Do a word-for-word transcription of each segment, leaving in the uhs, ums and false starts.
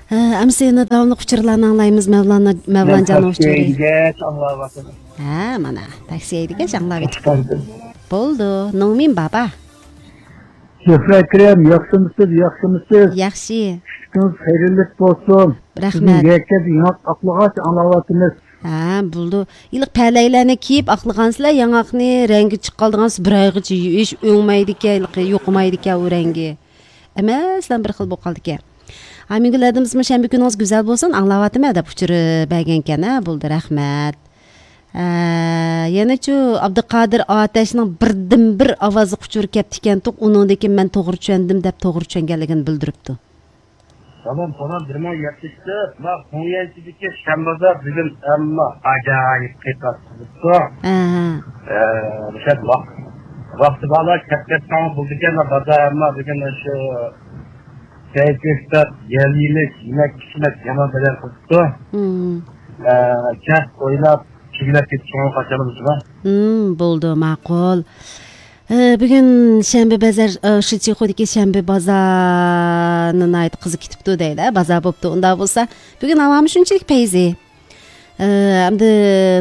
ھە، ئەمسە يەنە داۋاملىق ئۇچۇرلارنى ئاڭلايمىز، مەۋلانا، مەن مەۋلانجاننىڭ تاكسى ئۇچۇرى. ھەيدىگەچ ئاڭلاۋاتىمەن. ھە، مانا، تاكسى ھەيدىگەچ ئاڭلاۋېتىپتۇ. بولدى، نومىن بابا. زۆھرە ئەكرەم، ياخشىمۇسىز، ياخشىمۇسىز؟ ياخشى. چۈشلۈكىڭىز خەيرلىك بولسۇن. رەھمەت. بۈگۈن يەككە ياڭاق ئاقلىغاچ ئاڭلاۋاتىمىز. ھە، بولدى. ھېلىقى پەلەيلەرنى كىيىپ ئاقلىغانسىلەر، ياڭاقنى رەڭگى چىقىپ قالىدىغانسىز، بىر ئايغىچە يۇيۇش ئۆڭمەيدىكەن، ھېلىقى يوقىمايدىكەن ئۇ رەڭگى. ھەممەسىلا بىر خىل بولۇپ قالىدىكەن. ئامىنگۈل ھەدىمىزمۇ شەنبە كۈنىڭىز گۈزەل بولسۇن، ئاڭلاۋاتىمەن دەپ ئۇچۇر بەرگەنكەن. ھە، بولدى، رەھمەت. ھە، يەنىچۇ ئابدۇقادىر ئاتەشنىڭ بىردىنبىر ئاۋازلىق ئۇچۇرى كەپتىكەنتۇق، ئۇنىڭدىن كېيىن مەن توغرا چۈشەندىم دەپ توغرا چۈشەنگەنلىكىنى بىلدۈرۈپتۇ. سالام، سالام، بىر مىڭ يەتتە يۈز، ما، قوڭيەنچىدىكى شەنبازار بۈگۈن ئەمما ئاجايىپ قىيپاش قىلىپتۇ. ھە. ئە، مۇشۇ ۋاق-، ۋاقتى بارلار كەپ كەتسەڭ بولىدىكەن، بازار ئەمما بۈگۈن شۇ كەيپ كۆكتات، يەل يېمىش، يېمەك ئىچمەك يامان بەدەل قىلىپتۇ. مم. ئە، كەپ ئويلاپ، چۈگىلەپ كېتىشىڭىز قاچان بولسىلا. مم، بولدى، ماقۇل. ئە، بۈگۈن شەنبە بازار، ئە، شىچىخۇدىكى شەنبە بازارنى ناھايىتى قىزىق كېتىپتۇ دەيلى، بازار بوپتۇ. ئۇنداق بولسا، بۈگۈن ھاۋامۇ شۇنچىلىك پەيزى. ئە، ئەمدى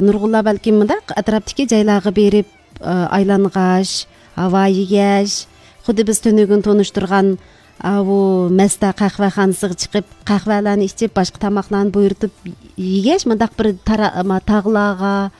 نۇرغۇنلار بەلكىم مۇنداق ئەتراپتىكى جايلارغا بېرىپ، ئە، ئايلانغاچ، ھاۋا يېگەچ، خۇددى بىز تۈنۈگۈن تونۇشتۇرغان، ئاۋۇ مەستە قەھۋەخانىسىغا چىقىپ، قەھۋەلەرنى ئىچىپ، باشقا تاماقلارنى بۇيرۇتۇپ يېگەچ، مۇنداق بىر تارا-، ما-، تاغلارغا،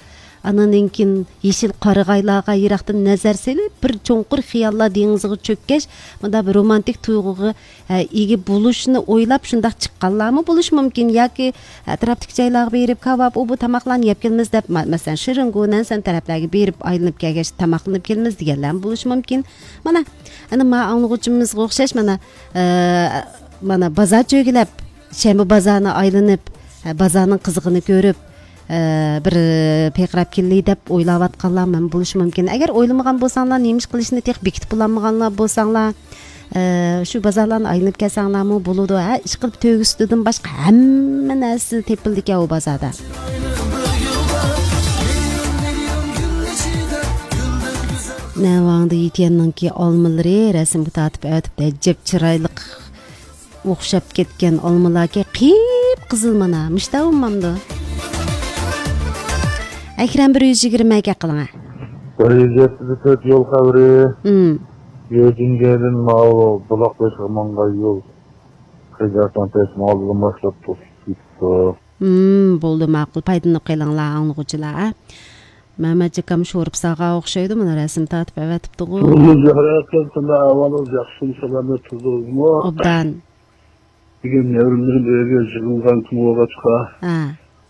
ئانىڭدىن كېيىن يېشىل قارىغايلارغا يىراقتىن نەزەر سېلىپ، بىر چوڭقۇر خىياللار دېڭىزىغا چۆككەچ، مۇنداق بىر رومانتىك تۇيغۇغا، ئە، ئىگە بولۇشنى ئويلاپ شۇنداق چىققانلارمۇ بولۇشى مۇمكىن. ياكى ئەتراپتىكى جايلارغا بېرىپ، كاۋاپ، ئۇ بۇ تاماقلارنى يەپ كېلىمىز دەپ، ما-، مەسىلەن، شىرىنگو، نەنسەن تەرەپلەرگە بېرىپ ئايلىنىپ كەلگەچ تاماقلىنىپ كېلىمىز دېگەنلەرمۇ بولۇشى مۇمكىن. مانا، ئەنە ما ئاڭلىغۇچىمىزغا ئوخشاش، مانا، ئە، مانا بازار چۆگىلەپ، شەنبە بازارىنى ئايلىنىپ، ئە، بازارنىڭ قىزىقىنى كۆرۈپ، ئە، بىر پىرقىراپ كېلەي دەپ ئويلاۋاتقانلار مەن بولۇشى مۇمكىن. ئەگەر ئويلىمىغان بولساڭلار، نېمە ئىش قىلىشنى تېخى بېكىتىپ بولالمىغانلار بولساڭلار، ئە، شۇ بازارلارنى ئايلىنىپ كەلسەڭلارمۇ بولىدۇ. ھە، ئىشقىلىپ تۆگە سۈتىدىن باشقا ھەممە نەرسە تېپىلىدىكەن ئۇ بازاردا. نەۋاڭدا يىتيەننىڭكى ئالمىلىرى رەسىمگە تارتىپ ئەۋەتىپتۇ. ئەجەب چىرايلىق. ئوخشاپ كەتكەن ئالمىلاركەن، قىپقىزىل مانا، مۇشتا بولمامدۇ؟ ئەكرەم، بىر يۈز يىگىرمە ئەكە قىلىڭە. بىر يۈز يەتتە تۆت يول خەۋىرى. ھىم. يۆجىنگەدىن ماۋۇ بۇلاق بېشىغا ماڭغان يول. خېجارتان تەسمە ئالدىدىن باشلاپ توسۇپ كېتىپتۇ. ھىم، بولدى، ماقۇل، پايدىلىنىپ قېلىڭلار، ئاڭلىغۇچىلار، ھە؟ مەمەت ئاكام شورپا ساغا ئوخشايدۇ، مانا رەسىم تارتىپ ئەۋەتىپتىغۇ. بولدى، زۆھرە ئاكام، قانداق ئەھۋالىڭىز، ياخشىمۇ، سالامەت تۇردىڭىزمۇ؟ ئوبدان. بۈگۈن نەۋرىلىرىم ئۆيگە يىغىلغان كۈن بولغاچقا، ھە.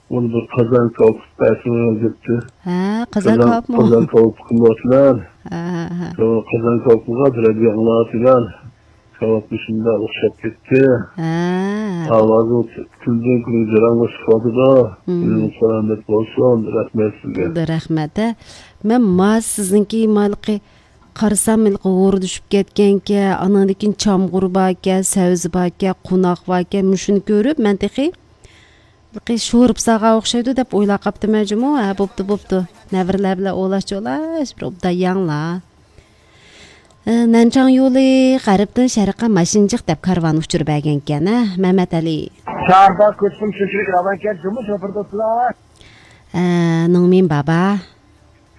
ئۇنى بىر قازان كاۋاپ قىلىپ بەرسىڭىز دەپتۇ. ھە، قازان قازان، كاۋاپمۇ؟ قازان كاۋاپ قىلىۋاتىمەن. ھە، ھە، ھە. شۇ قازان كاۋاپىغا بىرەر ئاڭلاۋاتىمەن. كاۋاپمۇ شۇنداق ئوخشاپ كەتتى. ھە. ئاۋازىڭىز كۈندىن كۈنگە جاراڭلىشىپ كېتىۋاتىدۇ. مم. كۈنىڭىز سالامەت بولسۇن. رەھمەت سىزگە. رەھمەت، ھە. مەن ما سىزنىڭكى مالىقى قارىسام، ھېلىقى ھوردا چۈشۈپ كەتكەنكەن، ئانىڭدىن كېيىن چامغۇر باركەن، سەۋزە باركەن، قوناق باركەن، مۇشۇنى كۆرۈپ، مەن تېخى ھېلىقى شورپا ساغا ئوخشايدۇ دەپ ئويلاپ قاپتىمەن جۇمۇ. ھە، بوپتۇ، بوپتۇ. نەۋرىلەر بىلەن ئوۋلاش-چوۋلاش، بىر ئوبدان يەڭلار. ئە، نەنچاڭ يولى غەربتىن شەرققە ماشىنىجىق دەپ كارۋان ئۇچۇر بەرگەنكەن، ھە، مەمەت ئەلى. شەھەردە كۆچۈرۈم شۇنچىلىك راۋانكەن جۇمۇ شوپۇر دوستلار. ئە، نىڭمىن بابا.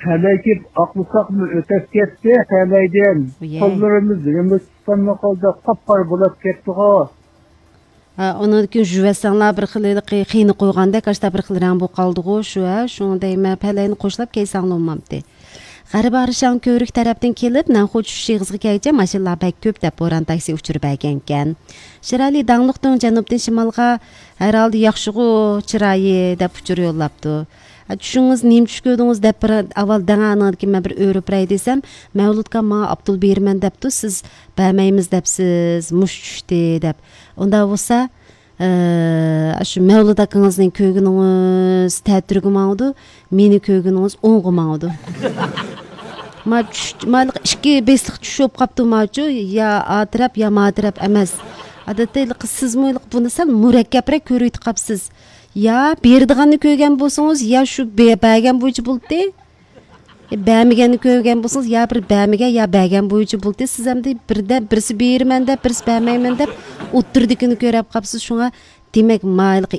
تەلەي كېلىپ ئاقلىساقمۇ ئۆتەپ كەتتى تەلەيدىن. ئۇيە. قوللىرىمىز يېمىش تۇتقانمۇ قالدى، قاپقارا بولاپ كەتتىغۇ. ھە، ئۇنىڭدىن كېيىن يۇيۇۋەتسەڭلار بىر خىل ھېلىقى خېنە قويغاندەك، ئاشتا بىر خىل رەڭ بولۇپ قالدىغۇ، شۇ، ھە، شۇڭا دەيمەن، پەلەينى قوشلاپ كەيسەڭلار بولمامتى. غەربىي ئارىشاڭ كۆۋرۈك تەرەپتىن كېلىپ، نەنخۇ چۈشۈش ئېغىزىغا كەلگۈچە ماشىنىلار بەك كۆپ دەپ بوران تاكسى ئۇچۇر بەرگەنكەن. شىرئەلى داڭلىقتىڭ جەنۇبتىن شىمالغا ھەر ھالدا ياخشىغۇ، چىرايى دەپ ئۇچۇر يوللاپتۇ. ھە، چۈشىڭىز نېمە چۈش كۆردىڭىز دەپ بىر ئاۋۋال دەڭە، ئاندىن كېيىن مەن بىر ئۆرۈپ بېرەي دېسەم، مەۋلۇتكا ماڭا ئابدۇل بېرىمەن دەپتۇ، سىز بەرمەيمىز دەپسىز، مۇش چۈشتى دەپ. ئۇنداق بولسا، ئە، شۇ مەۋلۇت ئاكىڭىزنى كۆرگىنىڭىز تەتۈرگە ماڭىدۇ، مېنى كۆرگىنىڭىز ئوڭغا ماڭىدۇ. ما چۈش، ما ئىككى بېسىق چۈش بولۇپ قاپتۇ ماچۇ، يا ئا تەرەپ، يا ما تەرەپ ئەمەس. ئادەتتە ھېلىقى سىزمۇ ھېلىقى بۇنى سەل مۇرەككەپرەك كۆرۈۋېتىپ قاپسىز. يا بېرىدىغاننى كۆرگەن بولسىڭىز، يا شۇ بە-، بەرگەن بويىچە بولدى. بەرمىگەننى كۆرگەن بولسىڭىز، يا بىر بەرمىگەن، يا بەرگەن بويىچە بولدى. سىز ئەمدى بىردە، بىرسى بېرىمەن دەپ، بىرسى بەرمەيمەن دەپ، ئوتتۇرىدىكىنى كۆرۈپ قاپسىز. شۇڭا دېمەك، ما ھېلىقى